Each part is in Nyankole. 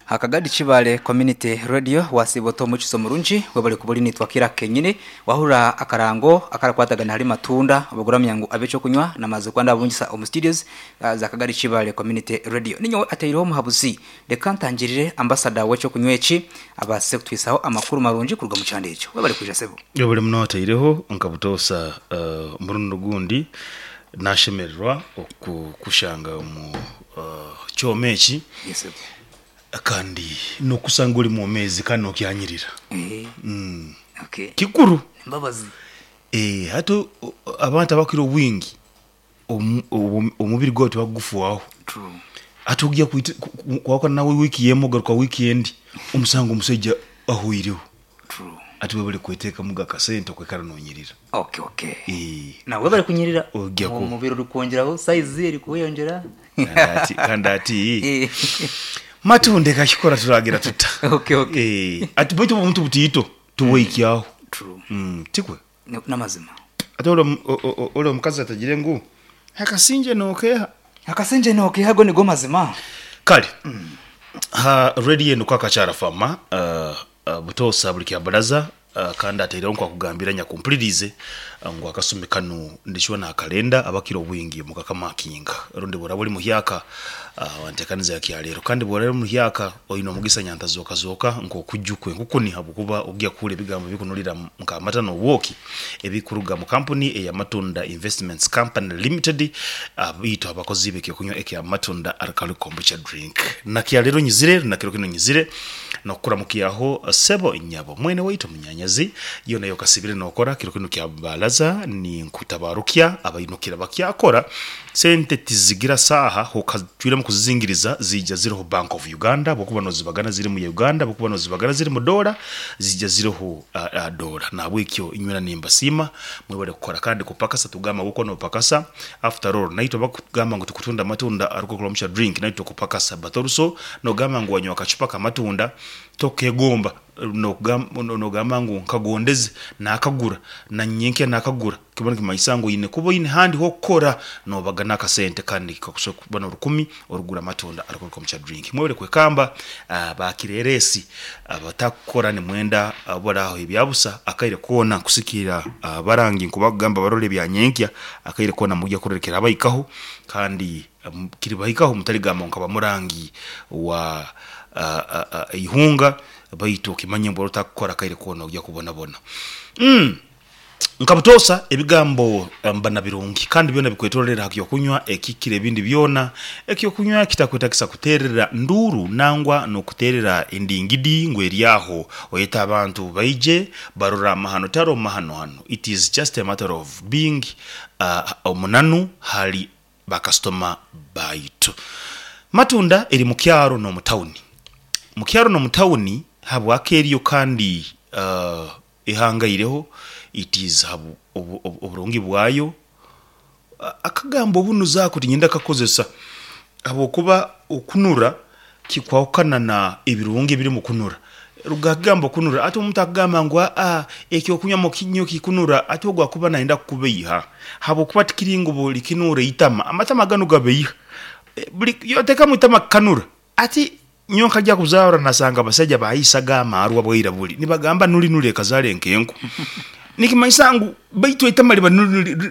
Akagadi Kibale Community Radio wasiiba ota omukizo murungi webale kuba ori naitwe akaire aka kenyini wahurira akarango akarakwatagana ahari matunda obaguramya ngu abe ekyokunywa namaze kuba ndabungisa omu studios za Kagadi Kibale Community Radio. Ninyowe ataireho omuhabuzi reka ntangirire ambassador wekyokunywa eki abaase kutwisaho amakuru marungi kuruga omukyanda ekyo. Webale kwija sebo. Webale muno ataireho nka butoosa omurundi ogundi nashemererwa okukushanga omu kyoma eki. Yes sebo. Kandi n'okusanga ori mwomeezi kandi n'okyanyirira. Eh. Okay. Kikuru. Embabazi. Eh, hati abantu abakukira obwingi omubiri gwabo tibakugufuaho. True. Hati ogya kwahukana nawe wiiki emwe ogaruka wiiki endi omusanga omusaija ahweireho. True. Hati webare kwetekamuga akasente okwikara nonyirira. Okay, okay. Eh. Nawe webare kunyirira. Ogya ku- Omubiri orikwongyeraho size erikweyongyera. Kandi ati, kandi ati Eh. Matunde kakikora turagira tuta? Okay, okay. Eh, ati baitu obuntu butiito tubwehikyaho. True. Tikwe? N'amazima. Ate ore omukazi atagire ngu akasingye nokeeha. Akasingye nokeeha ago nigo mazima. Kare, ha radio enu Kwakakyara Fama, butoosa buri kyabaraza Kandi ataireho nk'akugambira nyakumpuliriize ngu akasumi kanu ndishuba nakalenda abakira obwingi mukakamakinga. Rundi bworaba ori muhyaka wantekaniza ya kyaleero. Kandi bworaba ori muhyaka oine omugisa nyantazooka-zooka nk'okuju kw'enkukuni habwokuba ogya kuhurra ebigambo ebikunurira nk'amata n'obwoki ebikuruga mu kampuni eya Matunda Investments Company Limited baitu abakozi b'ekyokunywa ekya Matunda Alcoholic Kombucha Drink. Nakyaleero nyizire, nakiro kinu nyizire N'okukuramukyaho sebo nyabo, mwene waitu munyanyazi, yoona y'okasibire nookora kiro kinu kya baraza ninkutabarukya abainukira bakyakora, sente tizigira saaha hokacwiremu kuzizingiriza ziija ziriho Bank of Uganda bwokuba nozibagana ziri mu Uganda bwokuba nozibagana ziri mu dola ziija ziriho dola nahabwekyo inywena nimbasiima mwebare kukora kandi kupakasa tugamba ngu wokuba nopakasa after all naitwe abakugamba ngu tukutunda amatunda arikukuramucha drink naitwe tukupakasa but also Nogamba ngu wanywa akacupa k'amatunda, tokegomba nogamba ngu nkagondeze nakagura na nyenkya nakagura, kiba nikimanyisa ngu oine kuba oine ahandi h'okukora nobagana akasente kandi kakusobora kuba n'orukumi orikugura amatunda arikuruga omu kya drink. Mwebare kwekamba ba kireeresi abatakukora nimwenda baraho ebyabusa akaire koona kusikira abarangi nkubakugamba barore ebya nyenkya akaire koona mugya kurora ekirabahikaho kandi Kiribahikaho mutarigamba ngu nkaba murangi wa eihunga, baitu okimanye ngu otakukora akaire koona oija kubonabona. Nka butoosa ebigambo mba na birungi kandi byona bikwetororera aha ky'okunywa ekikira ebindi byona. Eky'okunywa kitakwetagisa kuteerera nduuru nangwa n'okuteerera endingidi ngu eri aho oyete abantu baije barore amahano. Tihariho mahano hanu. It is just a matter of being omunanu hali bakasitoma baitu. Matunda eri mu kyaro n'omu tawuni. Mu kyaro n'omu tawuni habwaki eriyo kandi ehangaireho it is oburungi bwayo. Akagambo obunuzi ako tinyenda kukakozesa habwokuba okunura Kikwahukana na ebirungi ebiri omu kunura. Ruga aha kigambo kunura. Hati omuntu akugamba ngu aa ekyokunywa mukinywe kikunura, hati ogwo akuba nayenda kukubeiha. Habwokuba tikiri ngu buri kinuura eitama. Amatama ganu gabeiha. Buri yotekamu eitama kikanura. Hati nyowe nkagya kuzaarwa nasanga abasaija bahiisaga amaarwa bwaira buri nibagamba nuri nuri ekazaara enkenku. Nikimanyisa ngu baitu eitama riba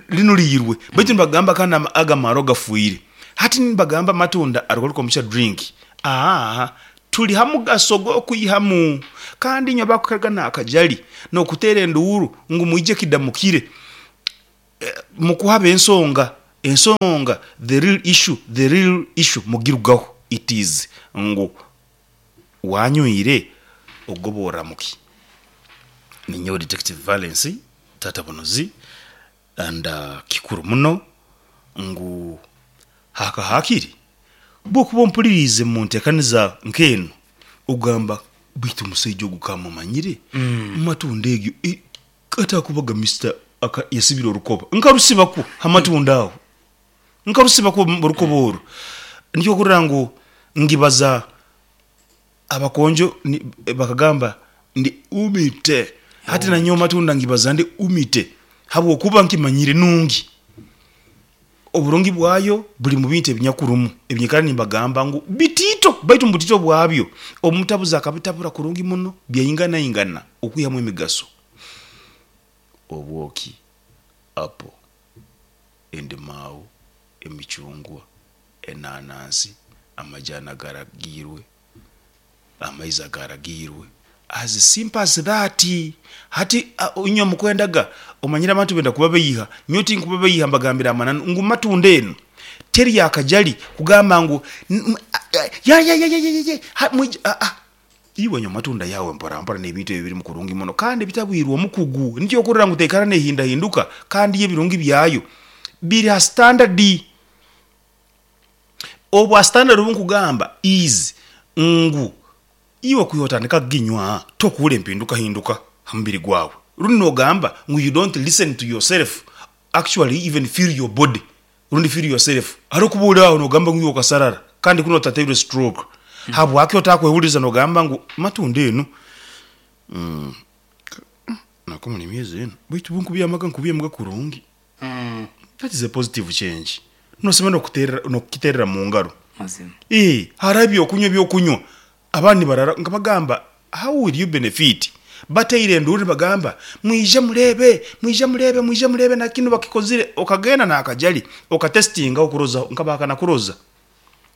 rinuriirwe baitu nibagamba kandi ago amaarwa gafwire. Hati nibagamba amatunda arikuruka omu drink aah turi hamugaso gwokwihamu kandi inywe abakukega nakajari nokutera enduuru ngu mwije kidamukire mukuhaba ensonga ensonga the real issue the real issue mugirugaho it is ngu wanywire ogoborramuki? Ninyowe Detective Valence Taata Bunuzi And kikuru muno ngu haka hakiri bwokuba ompuririize mu ntekaniza nk'enu ogamba baitu omusaija ogu kamumanyire amatunda egyo atakubaga Mister yasibire orukoba nkarusibaku ha matunda aho nkarusibaku orukoba oru nikyo okurora ngu ngibaza Abakonjo bakagamba ndi umite. Hati nanyowe matunda ngibaza ndi umite habwokuba nkimanyire nungi. Oburungi bwayo buri mu bintu ebinyakurumu ebinyikara nimbagamba ngu bitiito baitu omu butiito bwabyo omutabuzi akabitabura kurungi muno byainganaingana okwihamu emigaso. Obwoki, apo, endimaawu, emicungwa, enanansi, amajani agaragiirwe, amaizi agaragiirwe as simple as that. Hati inywe mukwendaga omanyire abantu benda kubabeiha, nyowe tinkubabeiha mbagambira amananu ngu matunda enu teri yakajali kugamba ngu yayayayayayay aa iwe nywa matunda yawe mpora mpora nebintu ebi birimu kurungi muno kandi bitabwirwe omukugu nikyo okurora ngu teikara nehindahinduka kandi yo ebirungi byayo biri ha standard. Obwa standard obu nkugamba is ngu iwe kwiha otandika kuginywa tokuhurra empindukahinduka ha mubiri gwawe rundi nogamba ngu you don't listen to yourself actually even feel your body rundi feel yourself hariho kuba ori aho nogamba ngu iwe okasarara kandi kunu otateirwe stroke habwaki otakwehuririza nogamba ngu matunda enu nakumara emyezi enu baitu bunkubyamaga nkubyamaga kurungi. That is a positive change. Nosemera nokuterera nokukiterera mungaro. Mazima. Eeh hariho ebyokunywa ebyokunywa abandi nibarara nkabagamba how will you benefit bateire enduuru nibagamba mwije mureebe mwije mureebe mwije mureebe nakinu bakikozire okagenda nakajari okatesitingaho okurozaho nkabahakana kuroza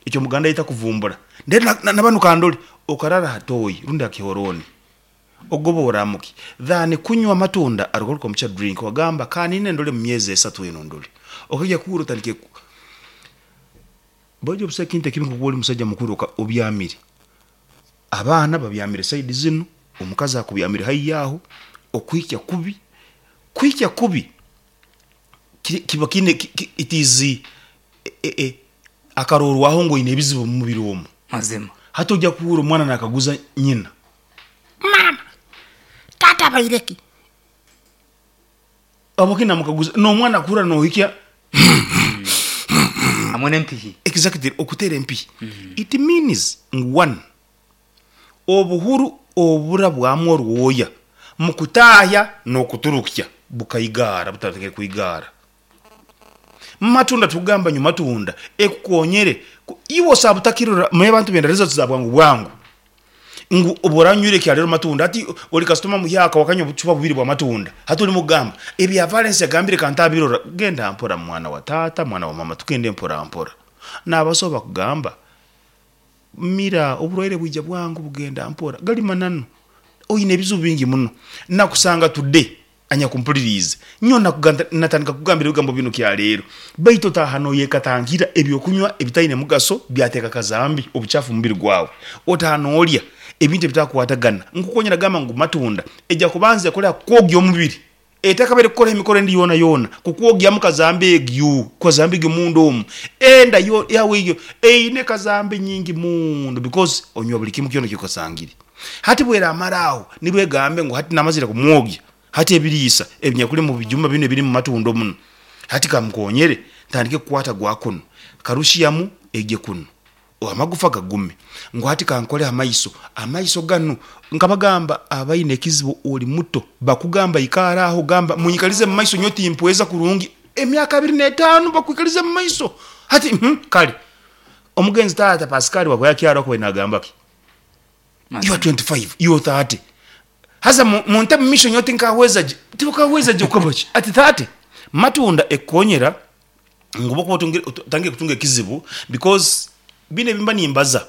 ekyo omuganda ayeta kuvumbura then nabanu kandore okarara aha toyi rundi aha kihoroni Ogoba oramuki than kunywa amatunda arugaruka omu kya drink wagamba kanine ndore mu myezi esatu enu ndore okagya kuhurra otandike ku Baitu busaho ekintu ekibi nkokuba ori musaija mukuru obyamire abaana babyamire side zinu omukazi akubyamire haihi aho okuhikya kubi kuhikya kubi kiba kiine it is akarorwaho ngu oine ebizibu mumubiri omu. Mazima. Hati ojja kuhurra omwana nakaguza nyina. Maama, taata abaire ki? Habwaki namukaguza? N'omwana akuhurra nohikya. Hamwe n'empihi. Exactly, okuteera empihi. It means ngu one, obuhuru oburabwamu orwoya mukutaahya n'okuturukya bukaigaara butandikire kwigaara. Matunda tukugamba nyu matunda ekukonyere iwe osaba butakirora manya abantu benda results za bwangu bwangu ngu obu oranywire kyarero matunda hati ori kasitoma muhyaka wakanywa obucupa bubiri bwa matunda hati orimu kugamba ebya Valens yagambire kantabirora genda mpora mwana wa taata mwana wa mama tugende mpora mpora nabasaho bakugamba Mira, oburwaire bwija bwangu bugenda mpora. Gali mananu. Oine ebizibu bingi muno. Nakusanga today, anyakumpuliriize. Nyowe natandika kukugambira ebigambo binu kyaleero. Baitu otaaha noyekatangira ebyokunywa ebitaine mugaso byateeka kazambi, obucaafu mumubiri gwawe. Otaaha nolya ebintu ebitakukwatagana. Nkukonyera gamba ngu matunda eja kubanza ekole ha kukwogya omubiri. Etakabaire kukora emikoro endi yonayona, kukwogyamu kazambi egyo, kazambi egyo munda omu, enda yo yawe egyo eine kazambi nyingi muno because onywa buli kimu kyona ekyokasangire. Hati bweramara aho, nibwo egambe ngu hati namazire kumwogya, hati ebiriisa ebinyakuli mu bijuma binu ebiri mu matunda muno, hati kamukonyere ntandike kukwata gwa kunu, karushiyamu egye kunu. Amagufa gagume. Ngu hati kankole ha maiso. Amaiso ganu, nkabagamba abaine ekizibu ori muto bakugamba ikaara aho gamba munyikalize mu maiso nyowe timpweza kurungi. Emyaka 25 bakwikalize mu maiso. Hati hum kale omugenzi taata Pascal bwaba yakyaro akubaire nagamba ki? You are 25, you are 30. Haza munte mu maisho nyowe tinkahweza gye. Tibakahweza gye kukaba ki? Ati 30. Matunda ekukonyera ngu obu okuba otangire kutunga ekizibu because binu ebimba nimbaza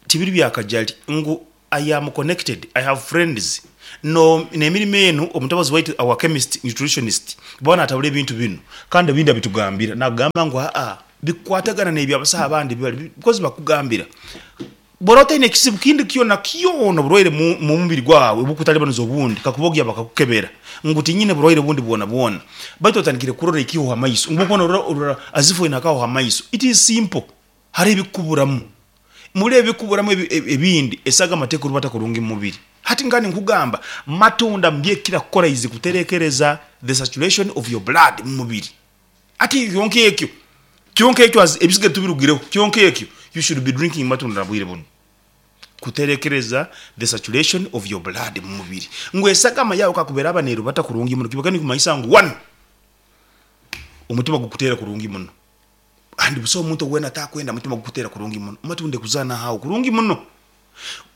tibiri bya kajari ngu I am connected, I have friends no n'emirimo enu omutabazi waitu our chemist nutritionist bwaba natabura ebintu binu kandi ebindi abitugambira nakugamba ngu aa bikukwatagana n'ebyo abasaho abandi bibari because bakugambira Bw'oraba otaine kizibu kindi kyona kyona oburwaire mu mubiri gwawe obukutalibaniza obundi, kakuba ogya bakakukebera ngu tinyine burwaire bundi bwonabwona, baitu otandikire kurora ekiho ha maiso, ngu bwokuba norora orora as if oine akaho ha maiso. It is simple, hariho ebikukuburamu. Muri ebi ebikukuburamu ebindi, esagama tekurubata kurungi mu mubiri. Hati nka ninkugamba, matunda mbyekira kukora is kuterekereza the saturation of your blood mu mubiri. Hati kyonka ekyo, kyonka ekyo as ebisigaire tubirugireho, kyonka ekyo you should be drinking matunda na bwire bunu kuterekereza the saturation of your blood mu mubiri ngu esagama yawe kakuba eraba nerubata kurungi muno kiba nikumanyisa ngu one. Omutima gukuteera kurungi muno. And busaho omuntu weena atakwenda mutima gukuteera kurungi muno. Matunda ekuzaana aho kurungi muno.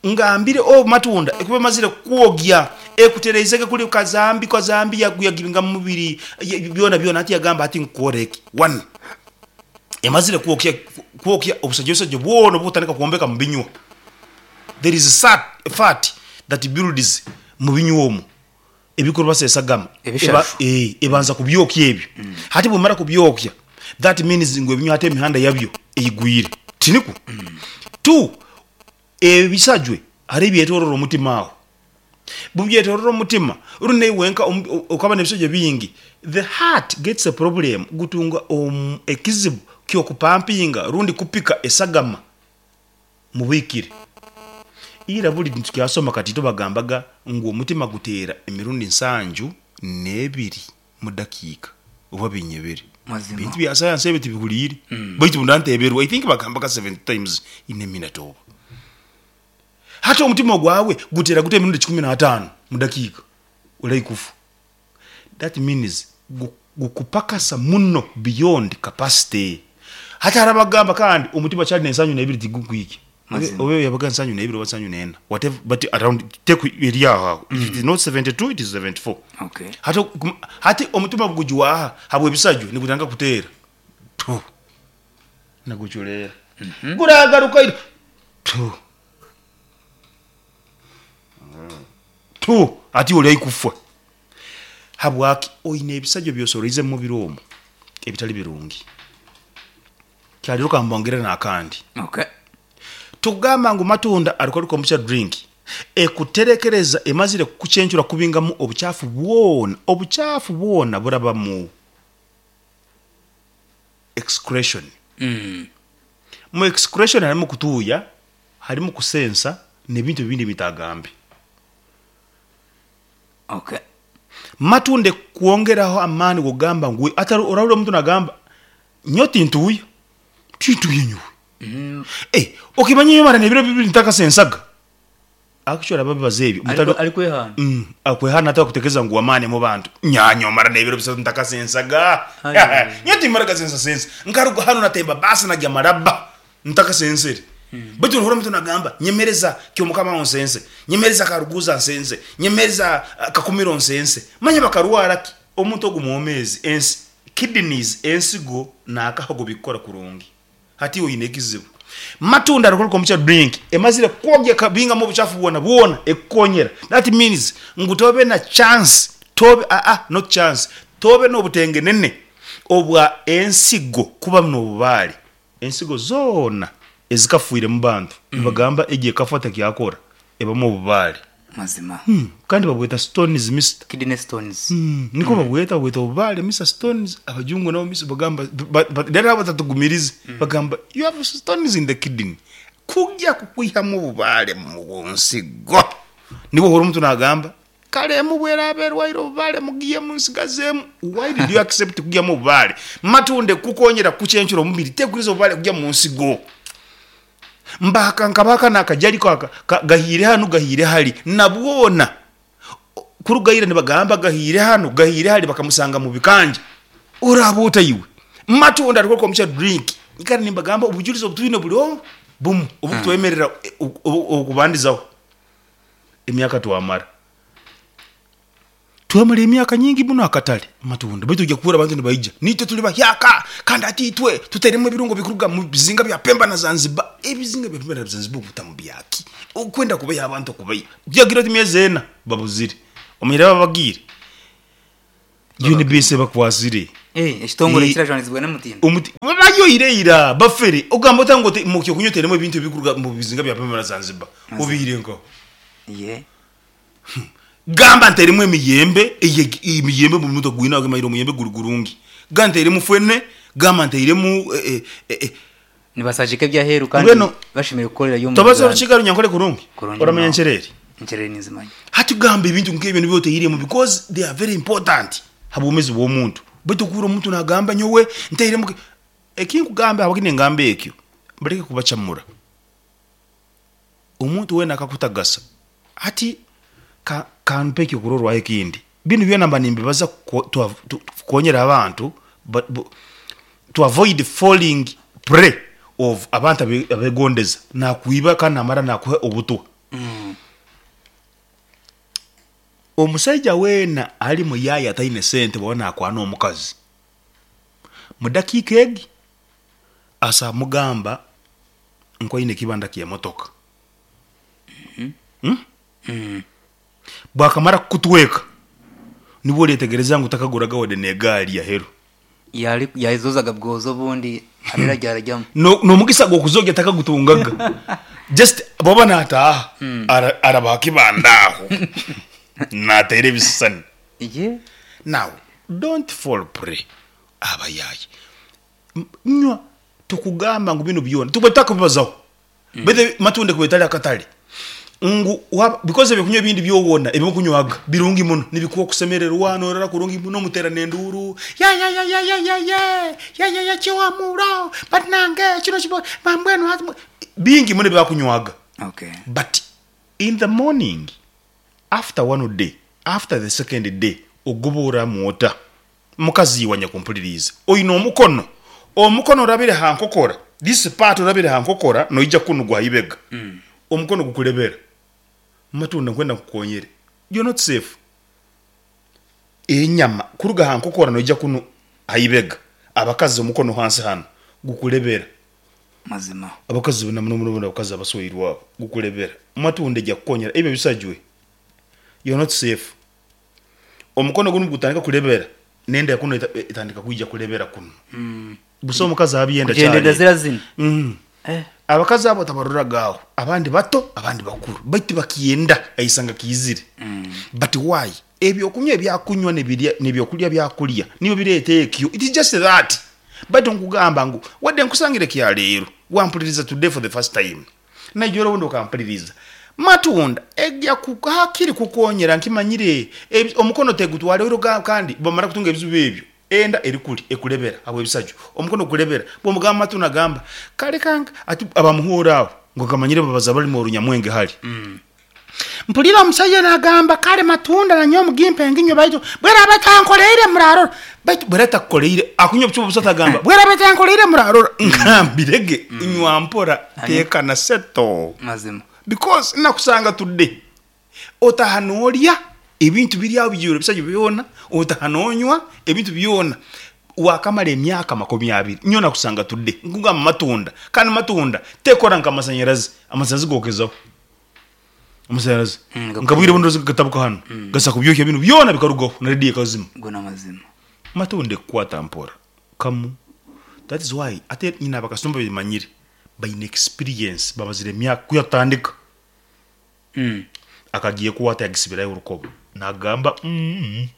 Ngambire obu matunda ekuba emazire kukwogya, ekutereizege kuri kazambi kazambi yagibinga mu mubiri byona byona hati yagamba hati nkukoreki? One, emazire kwokya kwokya obusajosajjo bwona obukutandika kwombeka mu binywa. There is fat that builds mu binywa omwo. Ebikurubasa esagama eba, Ebishaju. ebanza kubyokya ebyo. Hati bwemara kubyokya, that means ngu ebinywa hati emihanda yabyo eigwire. Tinikwo? Two, ebisajwe hariho ebyetorora omutima aho. Bubyetorora omutima, rundi naiwe wenka okaba nebisajwe bingi, the heart gets a problem, gutunga ekizibu kyokupampinga rundi kupika esagama Mubikire. Ira buli nitukyasoma kati itwe bagambaga ngu omutima guteera emirundi nsanju n'ebiri mu dakiika oba binyebere. Mazima. Bintu bya sayansi ebyo tibihuliire. Baitu bunda nteberwa I think bagambaga 70 times in a minute oba. Hati omutima ogwawe guteera guta emirundi kikumi n'ataano mu dakiika olai kufa. That means gukupakasa muno beyond capacity. Hati hariho abakugamba kandi omutima kyari n'ensanju n'ebiri tigukwikya. Mazima. Oba yabaga nsanju n'ebiri oba nsanju n'ena whatever but around take eri aho aho. If it is not 72 it is 74. Okay. Hati hati omutima gugujwaha habw'ebisajwa nigutandika kuteera tu nigucureera. Guragaruka ira tu. Tu ati ori haihi kufa. Habwaki? Oine ebisajwa ebi osoroize omu mubiri omu ebitari birungi. Kyarero ka mbongere n'akandi. Okay. Tugamba ngu matunda ariku kombucha drink ekuterekereza emazire kukucencura kubingamu obuchafu bwona. Obuchafu bwona buraba mu excretion. Mu excretion harimu kutuuya, harimu kusensa n'ebintu ebindi ebitagambe. Okay. Matunda ekukwongeraho amaani g'okugamba ngu atari orahurira omuntu nagamba nyowe tintuuya, tintuuya nyowe. Eh, okimanya nyowe mara n'ebiro bibiri ntakasensaga. Actually ababibaza ebyo mutari Arikwehana. Akwehana atakutekereza ngu w'amaani mu bantu. Nyowe mara n'ebiro bisatu ntakasensaga. Aye. Nyowe timmara gasensasensa. Nkaruga hanu natemba baasi nagya Maraba ntakasensere. Baitu nohurira omuntu nagamba nyemereza Kyomukama aho nsense, nyemereza Karuguza nsense, nyemereza Kakumiro nsense. Manya bakarwara ki? Omuntu ogu mwomeezi, ensi, kidneys, ensigo n'akahogo bikukora kurungi. Hati iwe oine ekizibu. Matunda arikora kombucha drink emazire kwogya ekabingamu obuchafu bwona bwona ekukonyera. That means ngu tobe na chance, tobe aa not chance, tobe n'obutengenene obwa ensigo kuba n'obubaare. Ensigo zoona ezikafiire mu bantu nibagamba egyo ekafa tekyakora ebamu obubaare. Mazima. Kandi babweta stones Mister. Kidney stones. Nikwo babweta, babweta obubaare Mister stones. Abajungu nabo Mister bagamba then abo batatugumirize bagamba you have stones in the kidney. Kugya kukwihamu obubaare mu nsigo. Nibwo ohurira omuntu nagamba kare emu bweraaba erwaire obubaare mugihemu nsigazeemu. Why did you accept kugihamu obubaare? Matunde kukonyera kukucencura omubiri tekuriza obubaare kugya mu nsigo. Mbaaka nkabaaka n'akajariko aka gahiire hanu gahiire hari na bwona kuruga ira nibagamba gahiire hanu gahiire hari bakamusanga mu bikanja. Oraaba ota iwe? Matunda arikora kombucha drink. Nyikara nimbagamba obujurizi obu twine buri obu bumu obukutwemerera okubandizaho emyaka twamara. Twamara emyaka nyingi muno akatare matunda baitu oija kuhurra abantu nibaija naitwe turi bahyaka kandi hati itwe tutairemu ebirungo bikuruga mu bizinga bya Pemba na Zanzibar. Ebizinga bya Pemba na Zanzibar obitamu byaki? Okwenda kubaiha abantu okubaiha. Byagira oti emyezi ena babuzire. Omanyire ababagiire? UNBS ebakwasire. Ekitongore ekirajwanizibwa n'omutindo. Omuti bayoire ira bafere. Ogamba ota ngu omu kyokunywa otairemu ebintu ebikuruga mu bizinga bya Pemba na Zanzibar? Obiire nkaho. Ye. Gamba ntairemu emiyembe, emiyembe buri muntu agwine agemanyire omuyembe guri gurungi. Gamba ntairemu fene, gamba ntairemu Nibasagika eby'aheeru kandi Mbwenu bashemereire kukorerayo omu tobaza Uganda. orukiga runyankore kurungi? Kurungi Oramanya munonga. nkyerere? Nkyerere ninzimanya. Hati gamba ebintu nk'ebyo nibyo otairemu because they are very important ha bwomeezi bw'omuntu. Baitu okuhurra omuntu nagamba nyowe ntairemu Ekinkugamba ahabwaki ningamba ekyo, mbareke kubacamura. Omuntu weena akakutagasa hati ka mpe ekyokurorwaho ekindi. Binu byona mba nimbibaza kukonyera abantu. To avoid falling prey of abantu abegondeza nakwiba kandi namara nakuha obutwa. Omusaija weena ari muyaayi ataine sente bwaba nakwana omukazi, mudakiika egi asobola mugamba ngu aine ekibanda ky'emotoka. Bwakamara kukutweka nibwo oryetegereza ngu takaguraga wadde n'egaari aheru. Yari yazozaga bwozo obundi arera ryarajyamu. No- N'omugisa gw'okuzogya takagutungaga. Just bwaba nataaha ara- araba aha kibanda aho nateera ebisisani. Ye Now don't fall prey abayaayi. Nywa tukugamba ngu binu byona tuba tutakubibazaho. Baitu matunda kuba etali akatale ngu waba because ebyokunywa ebindi byowona ebimukunywaga birungi muno nibikuha okusemererwa norara kurungi muno muterana enduuru yayayayayayeye yayaya kiwamuro banange kino kibo mbwenu hati bingi muno ebibakunywaga Okay. but in the morning after one day after the second day ogoboramu ota Mukazi iwe anyakumpuliriize, oine omukono, omukono orabire ha nkokora, this part orabire ha nkokora noija kunu gwa ha ibega, omukono gukulebera. Matunda nkwenda nkukonyere, you're not safe. Enyama kuruga ha nkokora noija kunu ha ibega, abakazi omukono hansi hanu gukulebera. Mazima. Abakazi na muno muno abakazi abasweirwe abo gukulebera. Matunda eja kukonyera ebyo ebisajwe, you're not safe. Omukono gunu gutandika kurebera nenda kunu etandika kwija kurebera kunu. Busa omukazi abyenda Kugyenda kyali. zira zinu. Abakazi abo tabaroraga aho, abandi bato abandi bakuru baitu bakyenda aisanga kiizire. But why? Ebyokunywa ebyakunywa nebirya nebyokulya byakulya nibyo bireeta ekyo. It is just that. Baitu nkugamba ngu wadde nkusangire kyaleero wampuliriza today for the first time. Naija orundi okampuliriza. Matunda egya hakiri kukonyera nkimanyire omukono tegutwara oiro kandi bamara kutunga ebizibu ebyo enda eri kuri ekurebera habw'ebisajo omukono gukurebera bwomugamba matunda agamba kare kange ati abamuhura aho ngu akamanyire babaza abarimi orunyamwenge hari. Mpulira omusaija nagamba kare matunda nanyowe mugimpe nginywe baitu bweraba etankoreire murarora. Baitu bweraba etakukoreire akunywa obucupa busatu agamba bweraba etankoreire murarora ngambire ge nywa mpora tekana settle Mazima. because nakusanga today otaha norya ebintu biri aho bijwire ebisajwa byona otaha nonywa ebintu byona wakamara emyaka makumi abiri nyowe nakusanga today nkugamba matunda kandi matunda tekora nka amasanyarazi amasanyarazi gokezaho amasanyarazi nka bwire buno gatabuka hanu gasa kubyohya binu byona bikarugaho na radio ekazima. Go n'amazima. Matunda ekukwata mpora kamu that is why ate nyine abakasitoma bemanyire baine experience bamazire emyaka kwiha tutandika akagiye kukwata yagisibirayo orukoba nagamba mm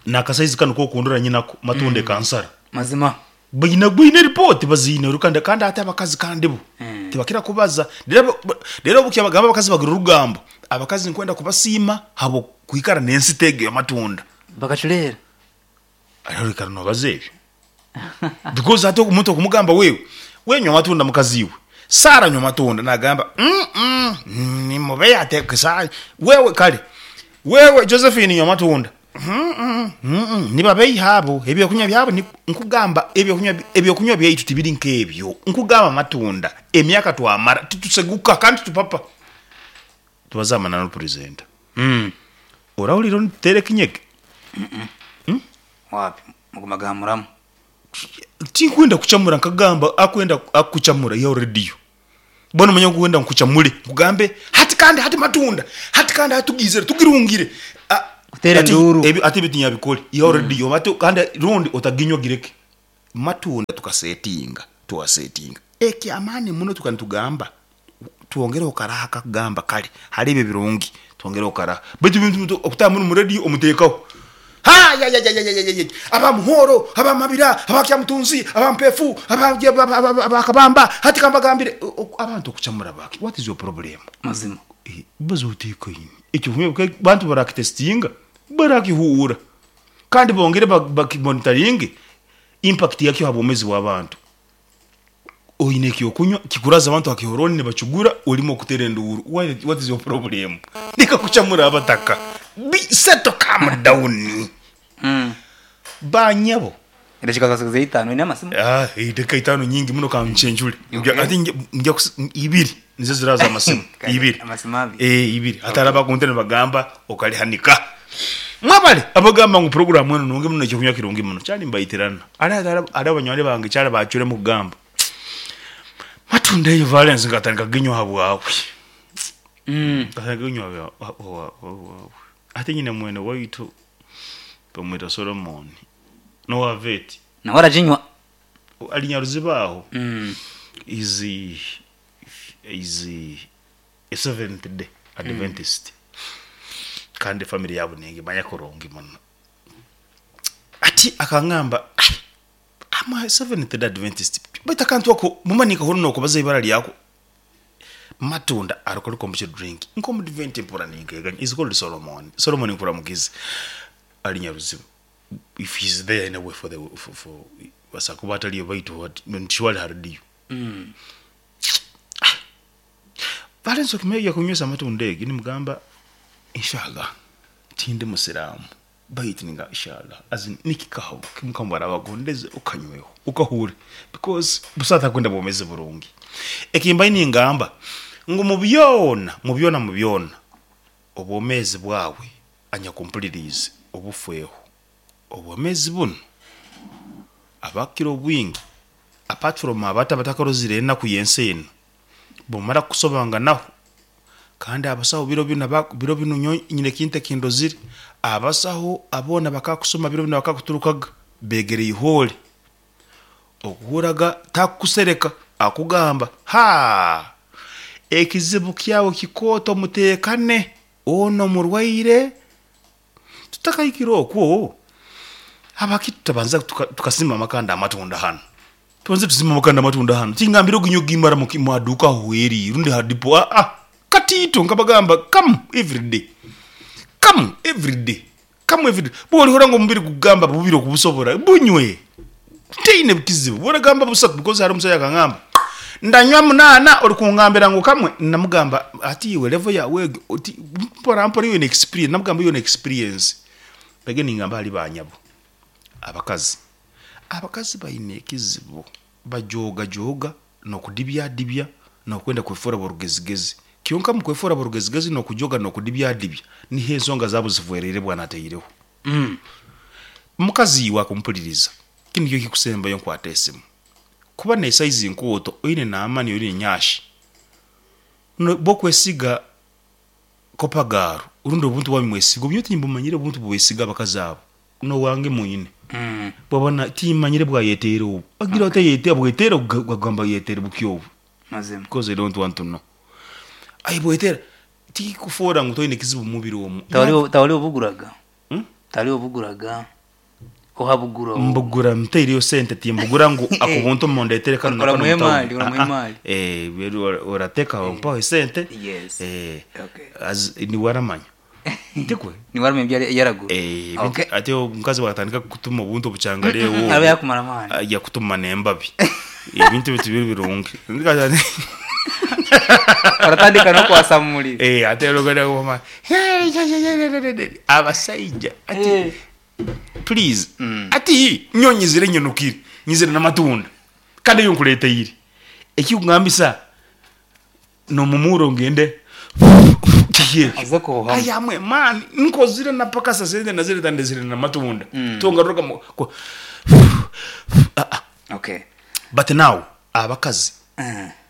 nakasaizi kanu kokundora nyinako matunda ekansara. Mazima. Baine baine report baziine ru kandi kandi ate abakazi kandi bo tibakira kubaza rero rero obu kyabagamba abakazi bagira orugambo abakazi nkwenda kubasiima habw'okwikara n'ensita egi ey'amatunda. Bakacureera. Rero oikara nobaza ebyo because hati omuntu okumugamba wewe wenywa amatunda mukazi iwe Sarah nywa amatunda nagamba mm nimubeya ate wewe kare wewe Josephine nywa amatunda Nibabeiha abo, ebyokunywa byabo ni, nkugamba, ebyokunywa, ebyokunywa byaitu tibiri nk'ebyo. Nkugamba amatunda, emyaka twamara tituseguka kandi titupapa. Tubaze amananu Purezenta. Orahurira nituteera ekinyege? Wapi, muguma ga muramu. Tinkwenda kucamura nkagamba akwenda akucamura ihaho rediyo. Mbwenu omanye ngu wenda nkucamure nkugambe hati kandi hati matunda hati kandi hati tugiizire tugirungire. Kuteera Hati enduuru. ebyo hati ebyo tinyabikore ihaho rediyo hati kandi rundi otaginywa gireke. Matunda tukasetinga twasetinga ekyamaani muno tukaba nitugamba twongereho karaha akakugamba kare hariho ebyo ebirungi twongereho karaha baitu ebintu okutaaha munu omu rediyo omuteekaho Haayayayayayayay aba Muhoro, aba Mabira, aba Kyamutunzi, aba Mpefu, aba Kabamba, hati kambagambire abantu okucamura baki? What is your problem? Mazima. Baza oteekaine. Ekyo bantu barakitesitinga, barakihuura kandi bongere bakimonitaringe impact yakyo ha bwomeezi bw'abantu. Oine ekyokunywa kikuraza abantu aha kihorooni nibakigura orimu okutera enduuru why what is your problem? Reka kucamura abataka be settle calm down. Ba nyabo. Edakika zasigazeyo itaano oine amasimu? Ah, edakika itaano nyingi muno kancenjure. Okay. Ati nja ibiri nizo ziraza amasimu. Kale, Ibiri. amasimu abiri. Eh, ibiri. Ati hariho abakunte nibagamba okarihanika. Mwebale abagamba ngu puroguramu enu nungi muno ekyokunywa kirungi muno. Kyali mbaitirana. Hariho hariho banywani bange kyali bacwiremu kugamba. Matunda eyo Valens nkatandika kuginywa ahabwawe. Nkatandika kuginywa ahabwawe. Ati nyine mwene waitu bamweta Solomon n'owa vet. Nawe araginywa. Ali Nyaruziba aho. Is is a Seventh Day Adventist. Kandi family yaabo ningimanya kurungi muno. Ati akangamba ai I'm a Seventh Day Adventist. Baitu akantu ako muma ninkahurira nokubaza ibara lyako Matunda alcoholic kombucha drink nk'omudvent mpura ninkeganya is called Solomon. Solomon nkuramukize ali Nyaruziba. If he's there anyway for the for, for basobola kuba ataliyo baitu what ntiwali ha radio. Valens okimeja kunywesa amatunda egi nimugamba inshallah tindi musiraamu baitu ninga inshallah as in nikikaho mukama arabagondeze okanyweho okahure because busa takwenda bwomezi burungi. Ekimbaire ningamba ngu mu byona mu byona mu byona obwomezi bwawe anyakumpuliriize obufweho obwomezi bunu abakukira obwingi apart from abato abatakarozire enaku y'ensi enu bumara kukusobanganaho kandi abasaho biro binu biro binu nyowe nyine ekintu ekindozire abasaho aboona bakakusoma biro binu bakakuturukaga begere ihole okuhuraga takukusereka akugamba haa ekizibu kyawe kikooto muteekane onu murwaire tutakahikire okwo habwaki tutabanza tukasimba amakanda amatunda hanu tubanze tusimbe amakanda amatunda hanu tingambire ogunywe ogimara mu haduuka aho eri rundi ha dipo aa katiito nkabagamba kamu everyday kamu everyday kamu everyday bworihurra ngu omubiri gukugamba bubiri okubusobora bunywe teine kizibu bworagamba busatu because hariho omusaija akangamba ndanywa munaana orikungambira ngu kamwe namugamba hati iwe level yaawe egi oti mpora mpora iwe experience namugamba iwe experience mbege ningamba ahari banyabo abakazi abakazi baine ekizibu bajoogajoga n'okudibyadibya n'okwenda kwefoora borugezigezi kyonka omu kwefoora borugezigezi n'okujoga n'okudibyadibya niho ensonga zaabo zifwereire bwana ataireho. Mukazi iwe akumpuliriza kinu nikyo ekikusembayo nkwata esimu kuba n'esaizi nkooto oine n'amani oine enyashi bwokwesiga kopagaaro rundi obuntu bwanyu mwesiga obu nyowe timbumanyire obuntu bubesiga abakazi abo n'owange mwine bwaba timmanyire bwayeteera obu agira ota yete abweteera agamba yeteere buki obu Mazima. because I don't want to know ayebweteera tikikufoora ngu toine kizibu mumubiri omu. Tawali obuguraga? Tali obuguraga? Ohabugura obu? Mbugura ntaireyo sente timbugura ngu ako buntu mundetere kanu na kanu Oramuha omu town. emali, oramuha Ah, ah. emali. Eh, oratekaho mpaho esente. Yes. Eh, Okay. as niwe aramanya. Tikwe? Niwe aramanya ebi yaragura. Eh, ebintu Okay. ati omukazi bwatandika kukutuma obuntu obukyangara obu. Araba yakumara amaani. Yakutuma n'embabi. Ebintu ebi tibiri birungi. Oratandika n'okwasa mu muriro. Eh, ate oluganda wama. Abasaija ati Eh. please ati nyowe nyizire nyonokire nyizire n'amatunda kandi eyo nkureteire ekikugambisa n'omumuuro ngende kiki ekyo Aze kuhuhamu. Aya mwe man nkozire na paka sasente nazireta ndezire n'amatunda tongaruka mu ku- Ah, ah. Okay. But now abakazi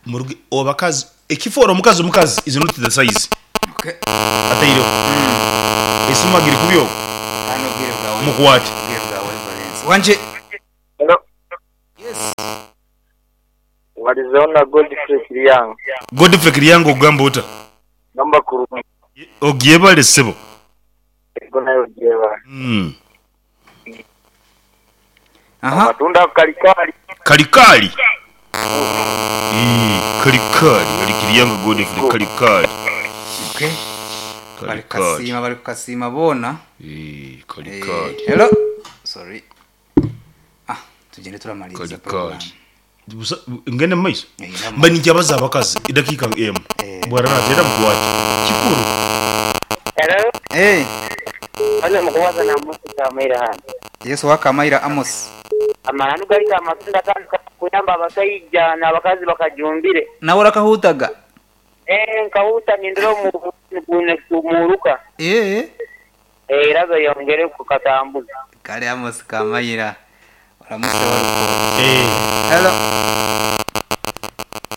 muruge abakazi ekifoora omukazi omukazi is not the size Okay. ataireho esimu agiri kubi ogu Hano obwire bwawe. mukwate Obwire bwawe Valens. Wanje. Hello. Yes. Walizeho na Godfrey Kiryanga. Godfrey Kiryanga ogamba ota? Ngamba kurungi. Ogyebale ssebo. Ego nayo ogyebale. Aha. Amatunda ako kalikali. Kalikali. Ii, kalikali ali Kiryanga Godfrey kalikali. Okay. Bari Kalikali. kukasiima bari kukasiima boona. Ii, Eh, kalikali. hello. Sorry. Ah, tugende turamaliriza program. Kalikali. Busa ngende mu maiso. Eh, ngenda mu Mba ninkyabaza abakazi edakiika emu. Eh. Bwarara mukwate. Kikuru. Hello. Eh, Hano mukubaza na Amos Kamaira hano. Yesu wa Kamaira Amos. Amananu gali amatunda gatandika kuyamba abasaija n'abakazi bakajumbire. Nawe orakahutaga? Eeh nkahuta nindora omu gumuruka. Eeh. Era beyongere kukatambuza. Kale Amos Kamayira oramuse waruko. Eh. Hello.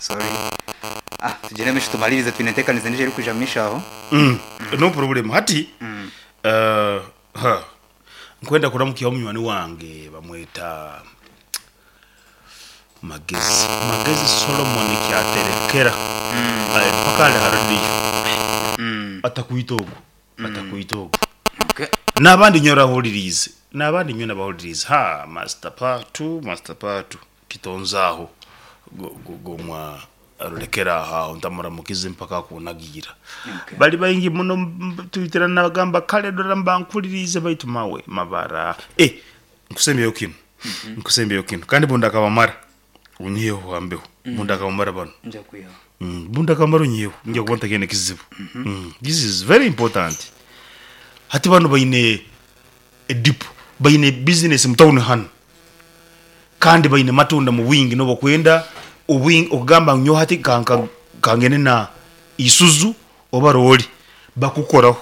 Sorry. Ah, tugire misho tumalirize twine entekaniza endijo erikwija mu misho aho. Mm. No problem. Hati ha nkwenda kuramukyaho munywani wange bamweta Magezi. Magezi Solomon Kyaterekera. Ali mpaka ali ha radio. Atakwita ogwo. Atakwita ogwo. Okay. N'abandi nyowe orahuririize. N'abandi nyowe nabahuririize. Ha Master Patu, Master Patu. Kitonze aho. Gomwa rurekera aho aho ntamuramukize mpaka akunagiira. Okay. Bali baingi muno twitira nabagamba kale dora mba nkuliriize baitu mawe mabara. Eh, nkusembyeyo kinu. Nkusembyeyo kinu. Kandi bunda akabamara. Unyiheho hambeho. Bunda akabamara bano. Nja kwihaho. Bunda akabamara unyiheho. Nja kuba ntakiine kizibu. This is very important. Hati banu baine edipo, baine business mu town hanu. Kandi baine matunda mu bwingi nobu okwenda obwingi okugamba ngu nyowe hati kangende na Isuzu oba rooli bakukoraho.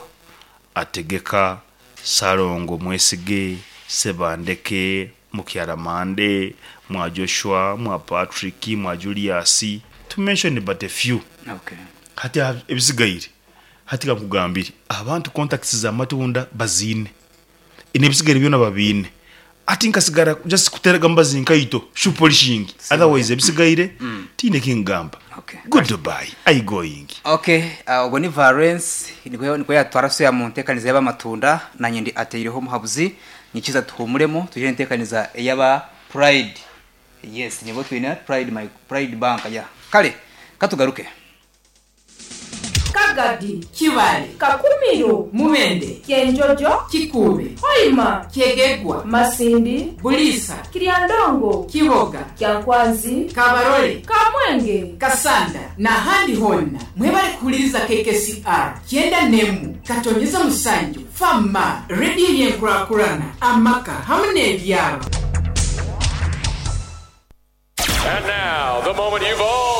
Ategeka, Ssalongo Mwesige, Ssebandeke, Mukyara Mande, Mwa Joshua, Mwa Patrick, Mwa Julius, to mention but a few. Okay. Hati ebisigaire, hati kankugambire, abantu contacts za Matunda baziine, n'ebisigaire byona babiine. Hati nkasigara just kuteeraga mubazi nkaito, shoe polishing, otherwise ebisigaire tihaine eki nkugamba. Okay. Goodbye, I going. Okay, ogwo ni Valens nikwo nikwo yatwara soya mu ntekaniza y'abamatunda nanye ndi ateireho omuhabuzi nyikiza tuhumuremu tugire entekaniza ey'aba Pride. Yes, nibo twine Pride my Pride Bank ya. Kale katugaruke. Kagadi, Kibaale, Kakumiro, Mubende, Kyenjojo, Kikuube, Hoima, Kyegegwa, Masindi, Buliisa, Kiryandongo, Kiboga, Kyankwanzi, Kabarole, Kamwenge, Kasanda n'ahandi hoona. Mwebale kuhuliriza KKCR kyenda n'emu katonyeza musanju fama rediyo y'enkurakurana amaka hamu n'ebyaro. And now, the moment you've all